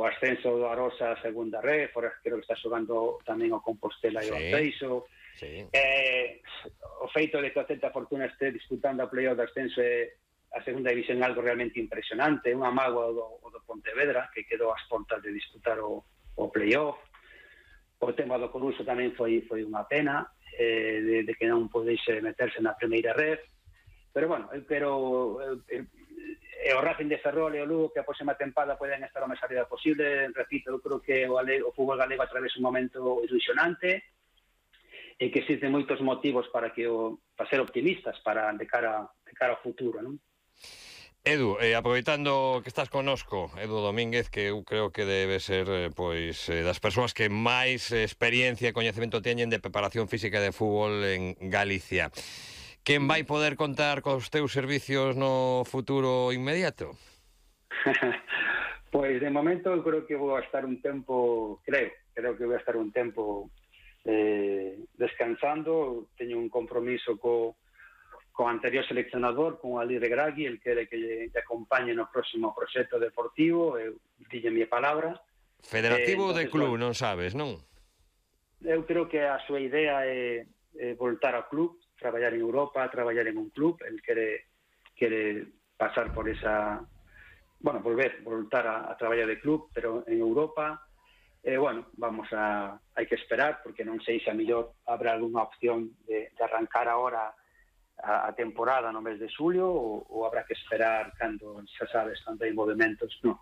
o ascenso do Arosa a segunda red, fora creo que está xogando tamén o Compostela e o Arteixo. Sí. O feito de que o Celta Fortuna este disputando a playoff de ascenso a segunda división é algo realmente impresionante, unha mágoa o do Pontevedra, que quedou ás portas de disputar o playoff. O tema do Coruso tamén foi unha pena, de que non podese meterse na primeira red, pero bueno, eu quero... o Racing de Ferrol e o Lugo que a próxima tempada poden estar o máis arriba posible. Repito, eu creo que o fútbol galego atravesa un momento ilusionante e que existen moitos motivos para ser optimistas de cara ao futuro, non? Edu, aproveitando que estás connosco, Edu Domínguez, que eu creo que debe ser das persoas que máis experiencia e coñecemento teñen de preparación física de fútbol en Galicia. Quen vai poder contar cos teus servicios no futuro inmediato? Pois de momento eu creo que vou a estar un tempo, creo que vou a estar un tempo descansando. Teño un compromiso co anterior seleccionador, con Ali Regragui, el quere que lle acompañe no próximo proxecto deportivo, eu dille mi palabra. Federativo de club, non sabes, non? Eu creo que a súa idea é voltar ao club, traballar en Europa, traballar en un club. El quere pasar por esa... Bueno, voltar a traballar de club, pero en Europa. Bueno, hai que esperar, porque non sei se a mellor habrá algunha opción de arrancar ahora a temporada no mes de xulio, ou habrá que esperar cando, xa sabes, cando hai movimentos no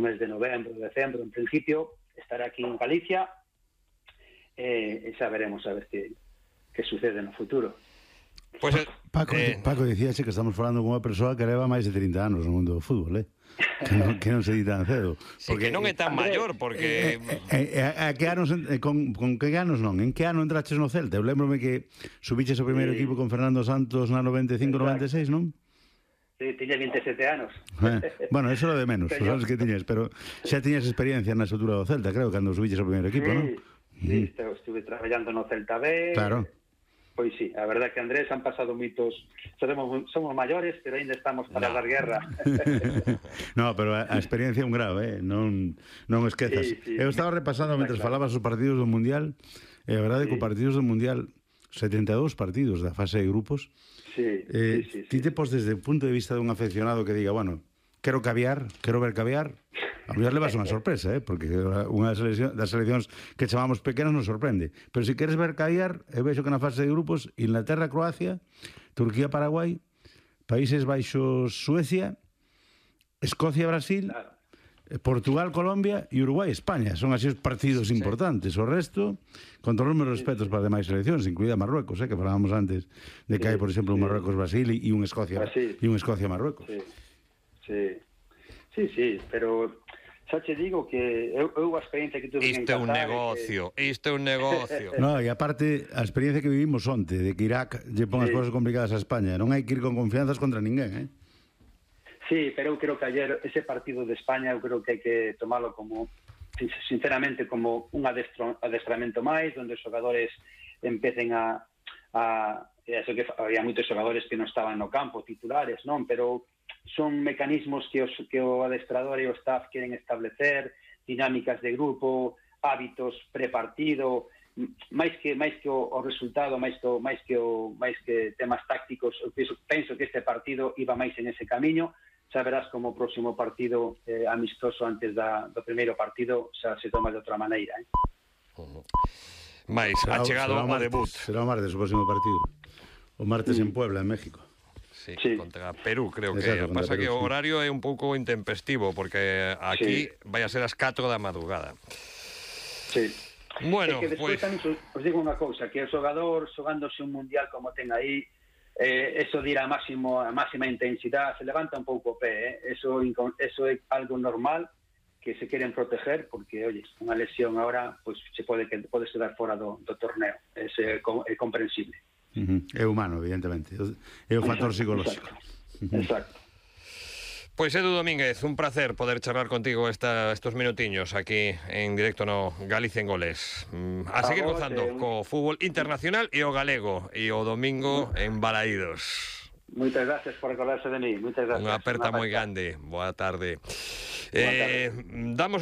mes de novembro, decembro. En principio, estaré aquí en Galicia e xa veremos a ver que sucede no futuro. Pues, Paco dicíaxe que estamos falando con unha persoa que leva máis de 30 anos no mundo do fútbol, que non se di tan cedo. Sí, porque, que non é tan maior, porque... A que anos, con que anos non? En que ano entraches no Celta? Eu lembrome que subiches o primeiro equipo con Fernando Santos na 95-96, non? Sí, tiña 27 anos. Bueno, eso era de menos, sabes que tiñes, pero xa tiñas experiencia na estrutura do Celta, creo, cando subiches o primeiro equipo, non? Sí, estuve traballando no Celta B. Claro. Pois sí, a verdade que Andrés han pasado moitos... Somos maiores, pero ainda estamos para dar guerra. No, pero a experiencia é un grado, non esquezas. Sí. Eu estaba repasando mentre falabas os partidos do Mundial, e a verdade que os partidos do Mundial, 72 partidos da fase de grupos, ti te pos desde o punto de vista dun afeccionado que diga, bueno, quero ver caviar, a mellor levas unha sorpresa, porque unha das seleccións que chamamos pequenas nos sorprende. Pero se queres ver caviar, eu vexo que na fase de grupos, Inglaterra, Croacia, Turquía, Paraguai, Países Baixos, Suecia, Escocia, Brasil, Portugal, Colombia e Uruguai, España. Son así os partidos importantes. O resto, con todos os meus respetos para as demais seleccións, incluída Marruecos, que falábamos antes de que hai, por exemplo, un Marruecos-Brasil e un Escocia-Marruecos. Sí, pero xa che digo que eu a experiencia que tuve en Qatar... Isto é un negocio. No, e aparte, a experiencia que vivimos onte, de que Irak lle pon as cosas complicadas a España, non hai que ir con confianzas contra ninguén, Sí, pero eu creo que ayer ese partido de España eu creo que hai que tomalo como, sinceramente, como un adestramento máis, onde os xogadores empecen eso que había moitos xogadores que non estaban no campo, titulares, non? Pero son mecanismos que o adestrador e o staff queren establecer, dinámicas de grupo, hábitos prepartido, máis que o resultado, máis que temas tácticos. Eu penso que este partido iba máis en ese camiño. Xa verás como o próximo partido amistoso antes do primeiro partido xa se toma de outra maneira. Mais ha chegado o debut. Será o martes o próximo partido. O martes en Puebla, en México. Sí, contra Perú, creo que. Pasa que o horario é un pouco intempestivo, porque aquí vai a ser as 4 da madrugada. Sí. Bueno, que despois tamén os digo unha cousa, que o xogador xogándose un mundial como ten aí, eso dirá a máxima intensidade, se levanta un pouco o pé, eso é algo normal, que se queren proteger, porque, oye, unha lesión agora, pois se pode quedar fora do torneo, é comprensible. É humano, evidentemente. É o factor psicolóxico. Exacto. Pois Edu Domínguez, un placer poder charlar contigo estos minutiños aquí en directo no Galicia en Goles. A seguir gozando co fútbol internacional e o galego, e o domingo en Balaídos. Moitas gracias por recordarse de mí. Moitas gracias. Unha aperta moi grande. Boa tarde. Damos